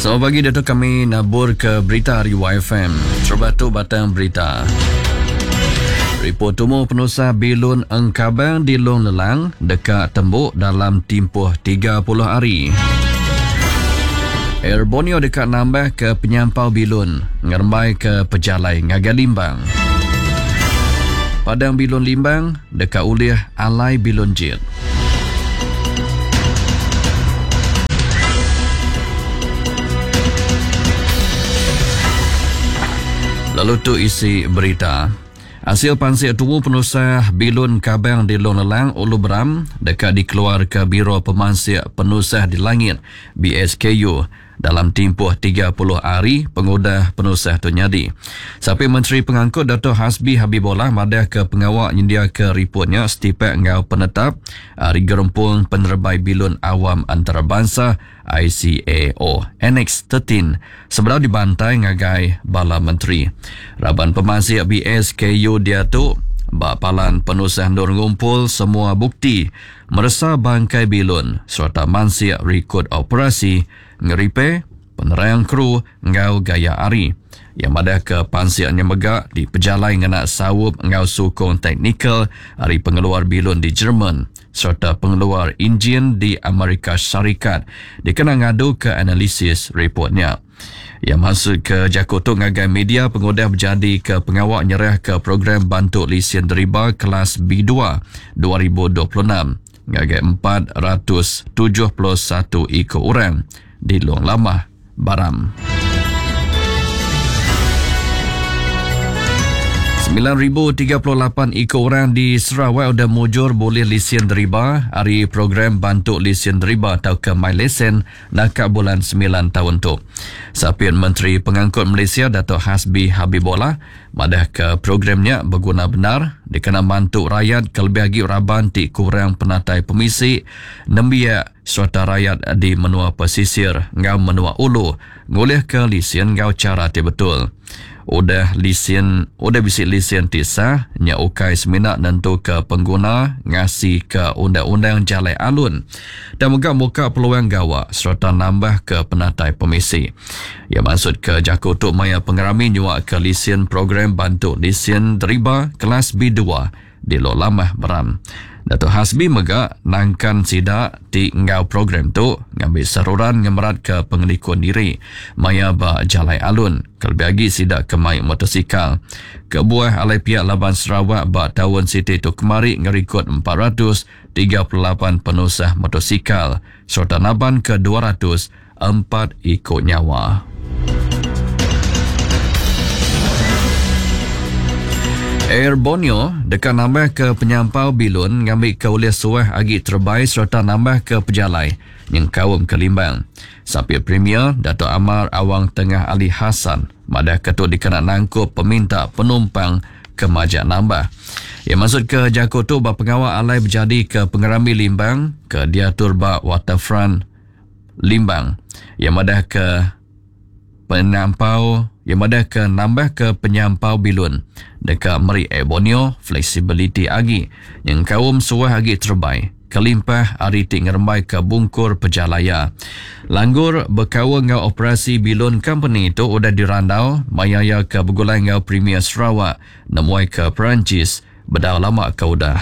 Selamat pagi diatu kami nabur ke berita ari YFM. Terubah tu batang berita. Ripot tumu penusah bilun engkabang di Long Lelang deka tembu dalam timpuh 30 hari. Air Borneo deka nambah ke penyampau bilun ngerembai ke pejalai ngagai Limbang. Padang bilun Limbang deka ulih alai bilun jet. Lalu tu isi berita. Asil pansik tumu penusah bilun kabang di Long Lelang, Ulu Beram deka dikeluarka Biro Pemansik Penusah di Langit, BSKU, dalam timpuh 30 hari pengudah penusah tu nyadi. Sapit Menteri Pengangkut Datuk Hasbi Habibollah madahka pengawa nyendiaka riput nya setipak enggau penetap ari Gerempung Penerebai Bilun Awam Antarabansa, ICAO, Annex 13 sebedau dibantai ngagai bala menteri. Raban pemansik BSKU diatu ba palan penusah endur ngumpul semua bukti meresa bangkai bilun sereta mansik rikod operasi, ngeripe, penerang kru enggau gaya hari. Iya madahka pansik nya mega dipejalai ngena saup enggau sukung teknikal ari pengeluar bilun di Jerman sereta pengeluar injin di Amerika Syarikat dikena ngaduka analisis ripot nya. Iya mansutka jaku tu ngagai media pengudah bejadika pengawa nyerahka Program Bantu Lisin Deriba Kelas B2 2026 ngagai 471 iku orang di Long Lamah, Baram. 9,038 iku orang di Sarawak udah mujur bulih lisin deriba ari Program Bantu Lisin Deriba tauka MyLesen naka bulan semilan taun tu. Sapit Menteri Pengangkut Malaysia Datuk Hasbi Habibollah madahka program nya beguna bendar dikena mantu rayat kelebih agi raban ti kurang penatai pemisi, nembiak sereta rayat di menua pesisir enggau menua ulu ngulihka lisin enggau chara ti betul. Udah lisin udah bisi lisin ti sah nya ukai semina nentuka pengguna ngasika undang-undang jalai alun tang mega muka peluang gawa sereta nambahka penatai pemisi. Iya mansutka jaku tu maya pengerami nyuaka lisin Program Bantu Lisin Deriba Kelas B dua di Lok Lamah Beram. Datuk Hasbi mega nangkan sida ti enggau program tu ngambi seruran ngemeratka pengelikun diri maya ba jalai alun kelebih agi sida ke mai motosikal. Kebuah alai piak laban Sarawak ba taun siti tu kemari ngerikod 438 penusah motosikal sereta nabanka 204 iku nyawa. Air Borneo deka nambahka penyampau bilun ngambika ulih suah agi terebai sereta nambahka pejalai nyengkaum ke Limbang. Sapit Premier Datuk Amar Awang Tengah Ali Hasan madahka tu dikena nangkup peminta penumpang ke majak nambah. Iya mansutka jaku tu ba pengawa alai bejadika Pengerami Limbang ke diatur ba Waterfront Limbang. Iya madahka penyampau iya madahka nambahka penyampau bilun deka meri Air Borneo fleksibiliti agi nyengkaum suah agi terebai kelimpah ari ti ngerembaika bungkur pejalai iya. Langgur bekaul enggau operasi bilun kompeni tu udah dirandau maya iya ke begulai enggau Premier Sarawak nemuai ke Perancis bedau lama ke udah.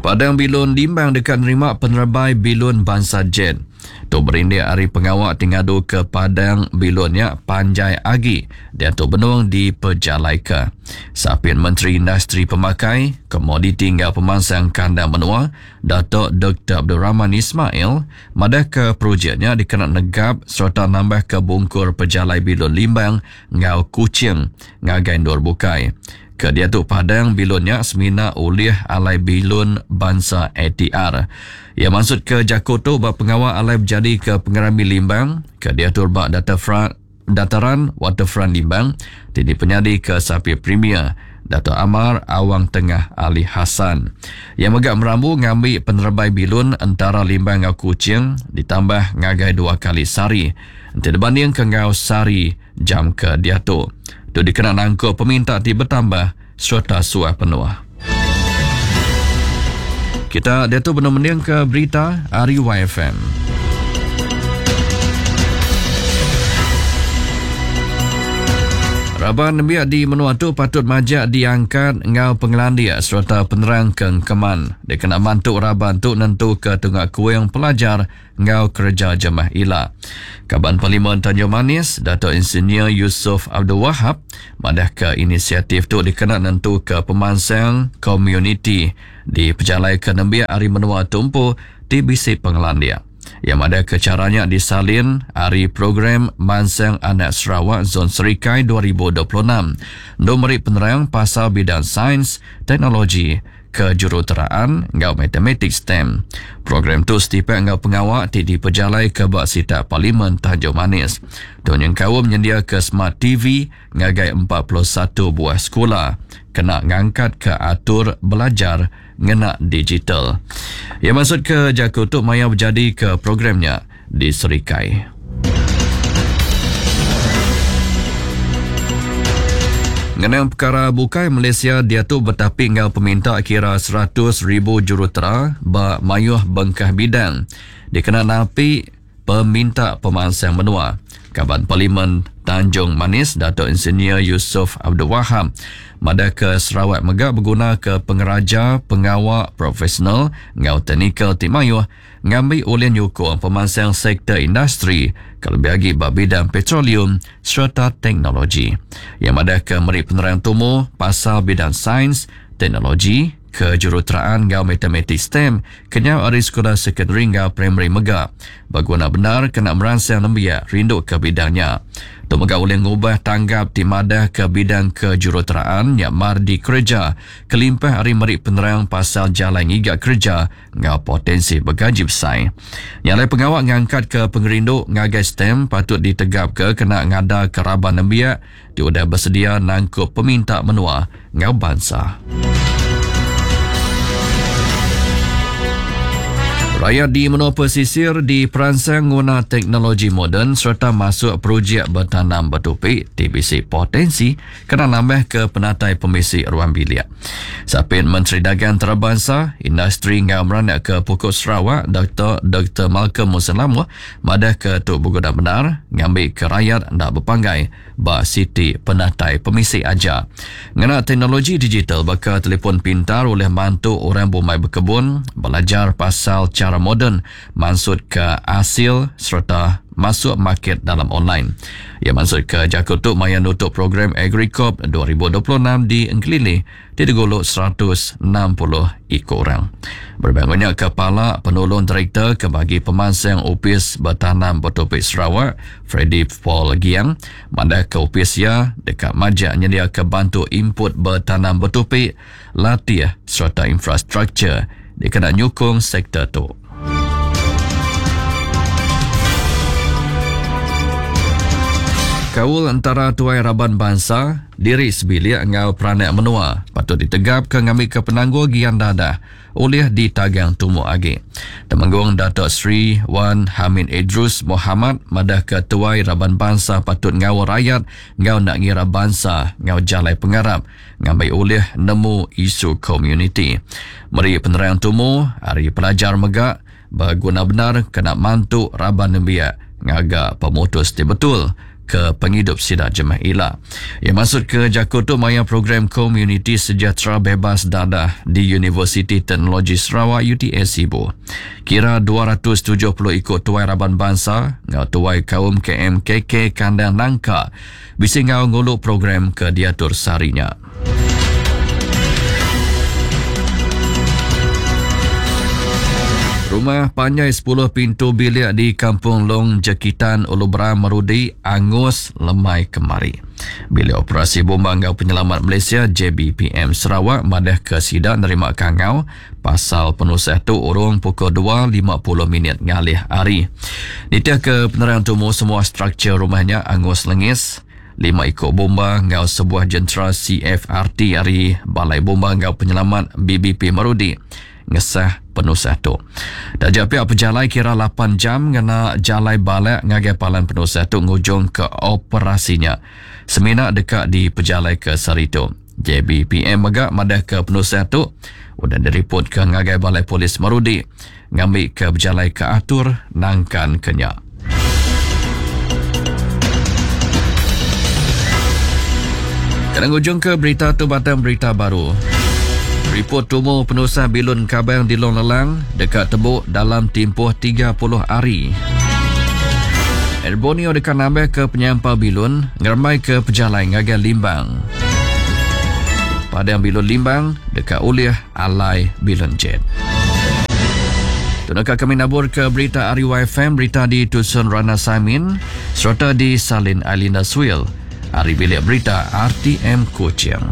Padang Bilun Limbang deka nerima penerebai bilun bansa jet. Tu berindik ari pengawa ti ngaduka padang bilun nya panjai agi diatu benung dipejalaika. Sapit Menteri Industri Pemakai, Komoditi enggau Pemansang Kandang Menua, Datuk Doktor Abdul Rahman Ismail madahka projek nya dikena negap sereta nambahka bungkur pejalai bilun Limbang enggau Kuching ngagai endur bukai. Ke diatu padang bilun nya semina ulih alai bilun bansa ATR. Iya mansutka jaku tu ba pengawa alai bejadika Pengerami Limbang ke diatur ba Dataran Waterfront Limbang ti dipenyadika Sapit Premier Datuk Amar Awang Tengah Ali Hasan. Iya mega merambu ngambi penerebai bilun entara Limbang enggau Kuching ditambah ngagai dua kali sehari enti dibandingka enggau sehari jam ke diatu. Tu dikena nangkup peminta ti betambah sereta suah penuh. Kita diatu benung mendingka berita ari YFM. Raban nembiak di menua tu patut majak diangkat enggau pengelandik sereta penerang ke engkeman dikena mantu raban tu nentuka tunga kuing pelajar enggau kereja jemah ila. Kaban Parlimen Tanjung Manis, Dato Insinyur Yusof Abdul Wahab madahka inisiatif tu dikena nentuka pemansang komuniti dipejalaika nembiak ari menua tu empu ti bisi pengelandik. Iya madahka chara nya disalin ari Program Mansang Anak Sarawak Zon Serikai 2026 endur meri penerang pasal bidang sains, teknologi, kejuruteraan enggau matematik STEM. Program tu setipak enggau pengawa ti dipejalaika ba sitak Parlimen Tanjung Manis. Tu nyengkaum nyendiaka Smart TV ngagai 41 buah sekula kena ngangkatka atur belajar ngena digital. Iya mansutka jaku tu maya bejadika program nya di Serikai. Ngenang pekara bukai, Malaysia diatu betapi enggau peminta kira 100,000 jurutera ba mayuh bengkah bidang dikena napi peminta pemansang menua. Kaban Parlimen Tanjung Manis Datuk Insinyur Yusof Abdul Wahab madahka Sarawak mega begunaka pengeraja pengawa profesional enggau teknikal ti mayuh ngambi ulih nyukung pemansang sektor industri kelebih agi ba bidang petroleum sereta teknologi. Iya madahka meri penerang tumu pasal bidang sains, teknologi, kejuruteraan enggau matematik STEM kenyau ari sekula sekondari enggau primari mega beguna bendar kena meransang nembiak rinduka bidang nya. Tu mega ulih ngubah tanggap ti madahka bidang kejuruteraan nya mar dikereja kelimpah ari meri penerang pasal jalai ngiga kereja enggau potensi begaji besai. Nya alai pengawa ngangkatka pengerindu ngagai STEM patut ditegapka kena ngadaka raban nembiak ti udah besedia nangkup peminta menua enggau bansa. Rayat di menua pesisir diperansang nguna teknologi moden sereta masuk projek betanam betupi ti bisi potensi kena nambahka penatai pemisi ruang bilik. Sapit Menteri Dagang Antarabansa, Industri enggau Meranakka Pokok Sarawak, Doktor Doktor Malcolm Mussen Lamoh madahka tu beguna bendar ngambika rayat enda bepanggai ba siti penatai pemisi aja. Ngena teknologi digital baka telefon pintar ulih mantu orang bumai bekebun belajar pasal chara moden mansutka asil sereta masuk market dalam online. Iya mansutka jaku tu maya nutup program AgriCorp 2026 di Engkelili ti digulu 160 iku orang. Berebak enggau nya, Kepala Penulung Direktor ke Bagi Pemansang Opis Betanam Betupi Sarawak, Freddy Paul Giang, madahka opis iya deka majak nyediaka bantu input betanam betupi, latih sereta infrastruktur dikena nyukung sektor tu. Kaul entara tuai raban bansa, diri sebilik enggau peranak menua patut ditegapka ngambika penanggul gian dadah ulih ditagang tumu agi. Temenggung Datuk Seri Wan Hamid Edrus Mohamad madahka tuai raban bansa patut ngaul rayat enggau enda ngira bansa enggau jalai pengarap ngambi ulih nemu isu komuniti. Meri penerang tumu ari pelajar mega beguna bendar kena mantu raban nembiak ngaga pemutus ti betul ke pengidup sida jemah ila. Iya mansutka jaku tu maya program Komuniti Sejahtera Bebas Dadah di Universiti Teknologi Sarawak UTS Sibu. Kira 270 iku tuai raban bansa enggau tuai kaum KMKK Kandang Nangka Bisi enggau ngulu program ke diatur sehari nya. Rumah panjai 10 pintu bilik di Kampung Long Jekitan Ulu Beram Merudi angus lemai kemari. Bilik Operasi Bomba enggau Penyelamat Malaysia JBPM Sarawak madahka sida nerima kangau Pasal penusah tu urung pukul 2.50 minit ngalih hari. Nitihka penerang tumu semua struktur rumah nya angus lengis. Lima iku bomba enggau sebuah jentera CFRT ari Balai Bomba enggau Penyelamat BBP Marudi ngesah penusah tu. Taja pia pejalai kira 8 jam ngena jalai balak ngagai palan penusah tu ngujungka operasi nya semina deka dipejalaika sehari tu. JBPM mega madahka penusah tu udah diripotka ngagai Balai Polis Marudi ngambika bejalaika atur nangkanka nya. Kena ngujungka berita tu batang berita baru. Ripot tumu penusah bilun Kabang di Long Lelang deka tebuk dalam timpuh 30 hari. Air Borneo deka nambahka penyampau bilun ngerembaika pejalai ngagai Limbang. Padang bilun Limbang deka ulih alai bilun jet. Tu naka kami nabur ke berita ari YFM, berita di Tusun Rana Saimin sereta di Salin Ailinda Swil ari bilik berita RTM Kuching.